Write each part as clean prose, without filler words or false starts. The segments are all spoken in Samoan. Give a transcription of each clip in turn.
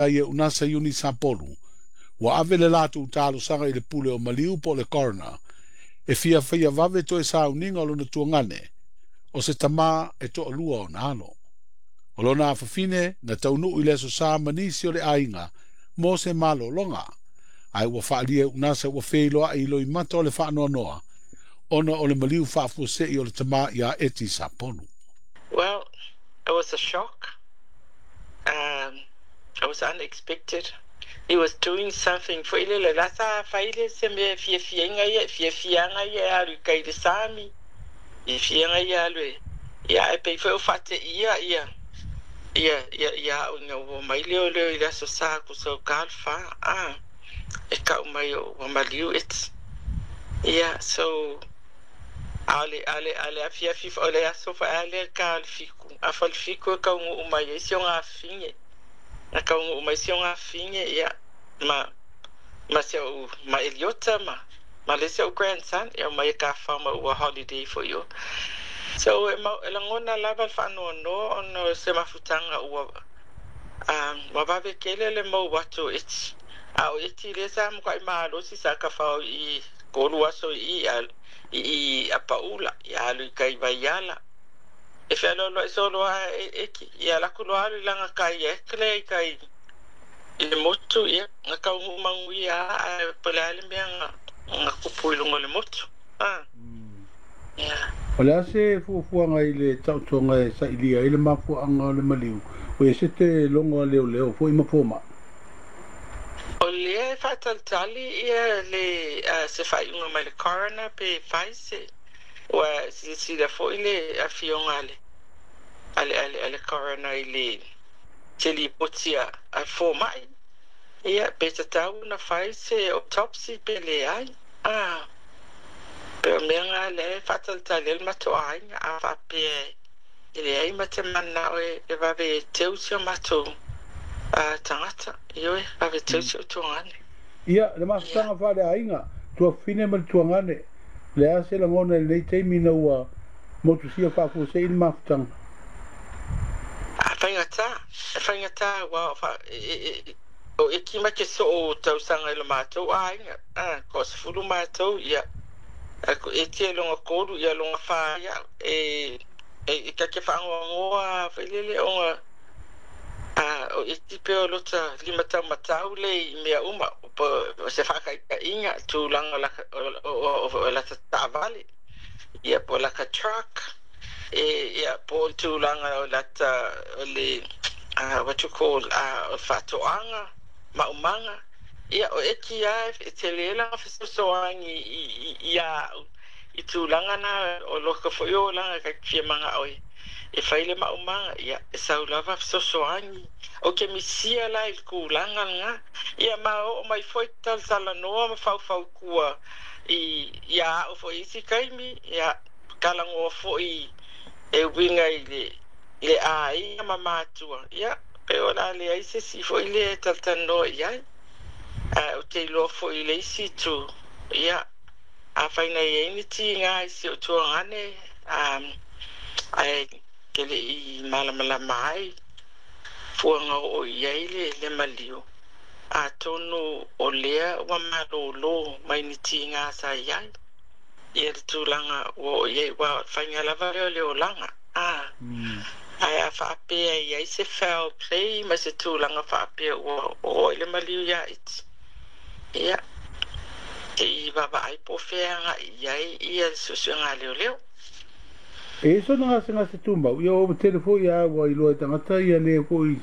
Ai e unasa Iuni Sapolu, ua ave le latou talosaga i le pule o maliu po o le coroner e fia faia vave toe sauniga o lona tuagane, o se tamā e toalua ona alo. O lona afafine na taunuu i le Aso Sa ma nisi o le aiga mo se malologa, ae ua faaalia e Unasa ua feiloai i loimata o le faanoanoa ona o le maliu faafuasei o le tamā ia Eti Sapolu. Well, it was a shock. It was unexpected. He was doing something foi lele la sa fai le se mea e fiafiaina ia, fiafiaga ia e alu i kai le sami, fiafiaga ia alu e, ia e pei foi o faateia ia, ia, ia, ia au ina ua mai leo leo i le aso sa ku sau ka le fa, ah, e kau mai o ua maliu eti. Ia, so, ale, ale, ale afiafi, o le aso fa ale ka le fiku, a fa le fiku e kaunuu mai ai si o ngafine. Na kaunuu mai si o ngafine, ia, ma, ma se o, ma Eliota, ma, ma le se o grandson, ia mai e ka fa ma ua holiday fo io. So, e, ma, e lagona lava le faanoanoa ona o se mafutaga ua ua vave tele le mau atu o eti. A o eti lea sa matuai malosi sa tafao i kolu aso i i i Apaula, ia alu i kai Vaiala. E fealoaloai solo lava e eki, ia alu atu loa alu i laga kai e lea i kai i le motu, ia na taunuu manuia lava ae po o le a le mea na na tupu i luga o le motu. Ah. Yeah. O le a se fuafuaga i le taotoga e sailia ai le mafuaaga o le maliu, ua ese te logo a leoleo foi ma fomai? O lea e faatalitali ia le se faaiuga mai le coroner pe fai se ua silasila foi le afioga a le a le a le, a le coroner i le se lipoti a a fomai ia pe tatau ona fai se autopsy pe leai. Ah, pe o mea na lea e faatalitali ai le matou aiga a faapea e leai ma te mananao e e vave e teu si o matou tagata, ioe, vave teu si o tuagane. Ia, le mafutaga faaleaiga, tuafafine ma le tuagane, o le a se lagona i lenei taimi ina ua motusia faafuasei le mafutaga? A faigata, e faigata aua o fa, e, e, e, o eki ma ke soo tausaga i lo matou aiga, a, toasefulu matou, ia, a ko eti e loga tolu, ia loga fa ia, e, e, e ta te faanoanoa foi lele ona a o eti pe o lota limataumatau le i mea uma, po o se faataitaiga, tulaga o laka, o, o, o, o lata taavale, ia po o laka truck, e, ia po o le tulaga o lata, o le, what you call, o le faatoaga, maumaga, ia o eki lava e tele lana fesoasoani i, i, ia au i tulaga na o lota foi olaga ta te fia manao e e fai le maumaga, ia e sau lava fesoasoani. Ou te misia la i le tulaga lena, ia ma oo mai foi talatalanoa ma faufautua i ia au foi i isi taimi, ia talanoa foi e uiga i le i le aiga ma matua, ia pe o le a leai se isi foi lea e talatalanoa i ai. Ae ou te iloa foi i le isi itu, ia afai na i ai ni tiga i si ou tuagane, ae ke le i malamalama ai fuaga oo i ai le, le maliu, atonu o lea ua malōlō mai ni tiga sa i ai ia le tulaga ua oo i ai, ua faiga lava lea o le olaga, a. Ae a faapea e i ai se foul play ma se tulaga faapea ua oo i le maliu ia iti, ia, se i vaavaai po o fea e agai i ai ia le suesuega a leoleo. E i ai sona gasegase tumau, ia ua tele foi a ua iloa e tagata ia le foi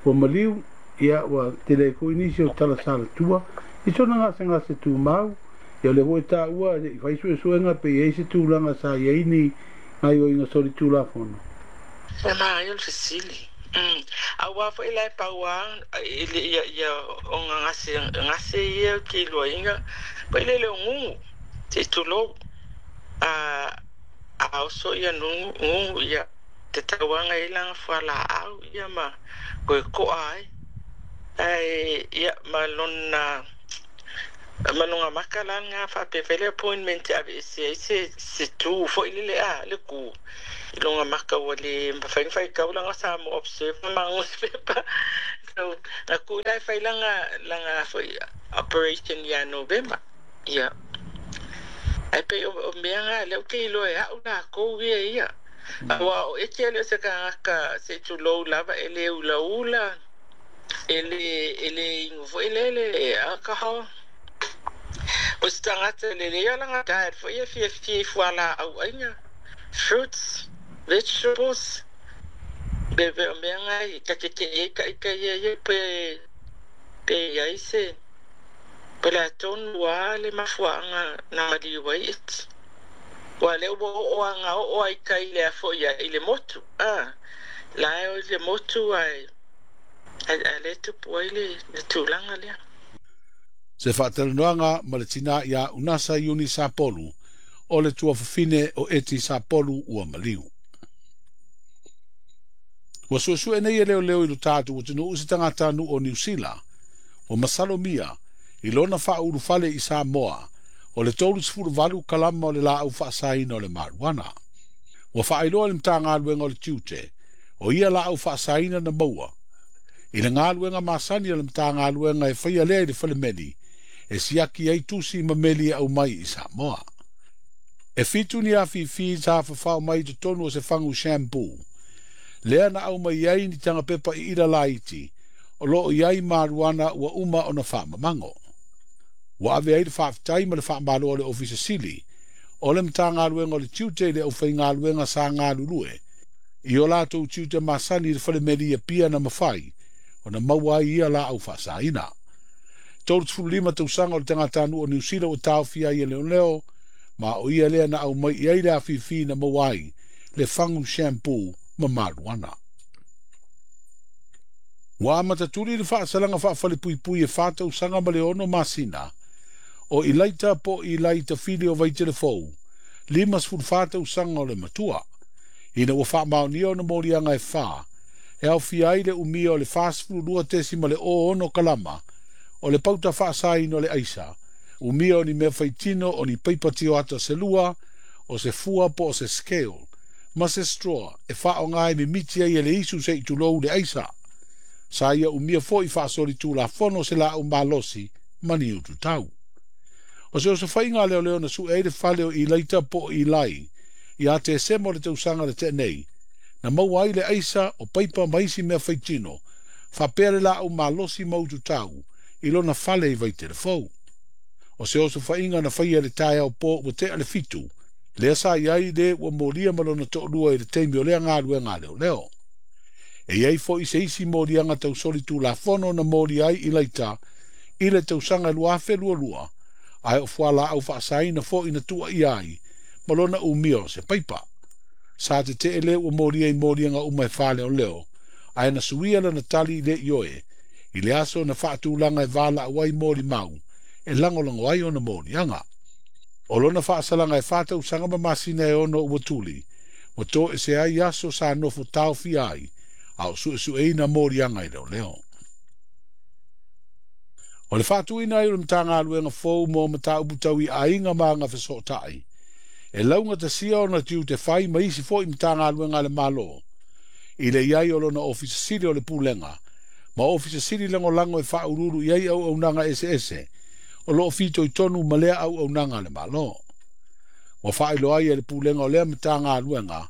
ua maliu, ia ua tele ai foi nisi o tala salatua i sona gasegase tumau, ia o lea foi e taua i fai suesuega pe i ai se tulaga sa i ai ni gaioiga solitulafono. E manaia le fesili. Aua foi la e pau lava i le ia ia ona gase gase ia ou te iloaina foi lele o gugu se i tulou a a oso ia nugu gugu ia te tauaga i lana fualaau ia ma toe toa ai ae ia ma lona ma lona maka la lena faapea fai le appointment e aveese ai se se tu foi lele a le ku i lona maka ua le mafai ona faitau lana Samoa Observer ma nusipepa. So na ku la fai langa langa foi operation ia Novema. Ia. Ai pe o mea nga le o ke iloa e au lakou ia ia. Aua o eke le o se kagaka se tulou lava e le ulaula e le e le inu foi le le alcohol. O se tagata lelei o lana diet foi e fiafia i fualaau aina, fruits, vegetables, be be o mea nga i ta tetee ai ka ika ia ia pe pe i ai se po o le a tonu lava le mafuaaga na maliu ai eti. Ua lea ua oo a ga oo ai kai le a foi ai i le motu a la e o i le motu ae ae lea e tupu ai le tulaga lea. Se faatalanoaga ma le tinā iā Unasa Iuni Sapolu o le tuafafine o Eti Sapolu ua maliu. Ua suesue nei e leoleo i lo tatou atunuu se tagatanuu o Niu Sila ua masalomia i lona faaulufale i Samoa o le 38 kalama o le laau faasaina o le marijuana. Ua faailoa e le Matagaluega o le Tiute o ia laau faasaina na maua i le galuega masani a le Matagaluega e faia lea i le falemeli e siaki ai tusi ma meli e aumai i Samoa. E 7 ni afifi sa fafao mai i totonu o se fagu shampoo lea na aumai ai ni taga pepa iila laiti o lo o i ai marijuana ua uma ona faamamago. Ua ave ai le faafetai ma le faamalo a le Ofisa Sili o le Matagaluega o le Tiute i le aufaigaluega sa galulue i o latou tiute masani i le falemeli i Apia na mafai ona maua ai ia laau faasaina. 35 tausaga o le tagatanuu o Niu Sila ua taofia ai e leoleo, ma o ia lea na aumai i ai le afifi na maua ai le fagu shampoo ma marijuana. Ua amata tuli le faasalaga faafalepuipui e 4 tausaga ma le 6 masina o Ilaita po o Ilai Tafili o Vaitelefou, 54 tausaga o le matua, ina ua faamaonia ona moliaga e 4 e aofia ai le umia o le 42.06 kalama o le pauta faasaina o le aisa, umia o ni mea faitino o ni paipa tioata se lua, o se fua po o se scale, ma se straw e faaaoga e mimiti ai e le isu se i tulou le aisa. Sa ia umia foi faasolitulafono se laau malosi ma ni ututau. O se osofaiga a leoleo na sue ai le fale o Ilaita po o Ilai ia Tesema o le tausaga na tea nei, na maua ai le aisa o paipa ma isi mea faitino, faapea le laau malosi ma ututau i lona fale i Vaitelefou. O se osofaiga na faia i le taeao po ua tea le 7, lea sa i ai le ua molia ma lona toalua i le taimi o lea galuega a leoleo. E i ai foi se isi moliaga tausolitulafono na molia ai Ilaita i le tausaga 2022, ae o fualaau faasaina foi na tuuaia ai ma lona umia o se paipa. Sa tetee le ua molia i moliaga uma e 4 leoleo, ae na suia lana tali i le ioe i le aso na faatulaga e valaau ai molimau e lagolago ai ona moliaga. O lona faasalaga e 4 tausaga ma masina e 6 ua tuli, ua toese ai aso sa nofo taofia ai, a o suesueina moliaga i leoleo. O le faatuina ai o le Matagaluega fou mo mataupu tau i aiga ma agafesootai, e laugatasia ona tiute fai ma isi foi Matagaluega a le Malo, i le i ai o lona Ofisa Sili o le Pulega, ma Ofisa Sili lagolago e faauluulu i ai auaunaga eseese o lo o fitoitonu ma lea auaunaga a le Malo. Ua faailoa ai e le Pulega o lea Matagaluega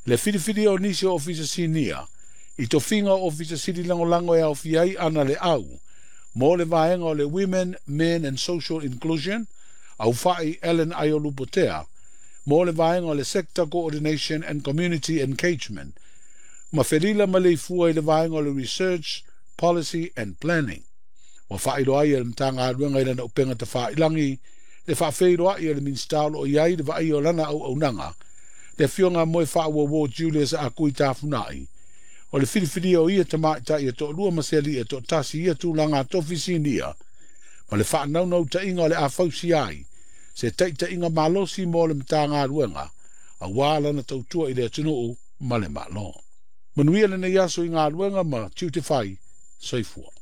le filifilia o nisi o Ofisa Sinia i tofiga o Ofisa Sili lagolago e aofia ai Ana Leau mo le vaega o le Women, Men and Social Inclusion, Aufai Ellen Aiolupotea mo le vaega o le Sector Coordination and Community Engagement, ma Felila Maleifua i le vaega o le Research, Policy and Planning. Ua faailoa ai e le Matagaluega i lana upega tafailagi le faafeiloai a le Minisita o lo o i ai le vaaia o lana auaunaga, le afioga a Moefaauouo Julius Akui Tafunai, o le filifilia o ia tamaitai e toalua ma se alii e toatasi i ia tulaga tofi sinia, ma le faanaunautaiga o le a fausia ai se taitaiga malosi mo le Matagaluega, auā lana tautua i le atunuu ma le Malo. Manuia lenei aso i galuega ma tiute fai, soifua.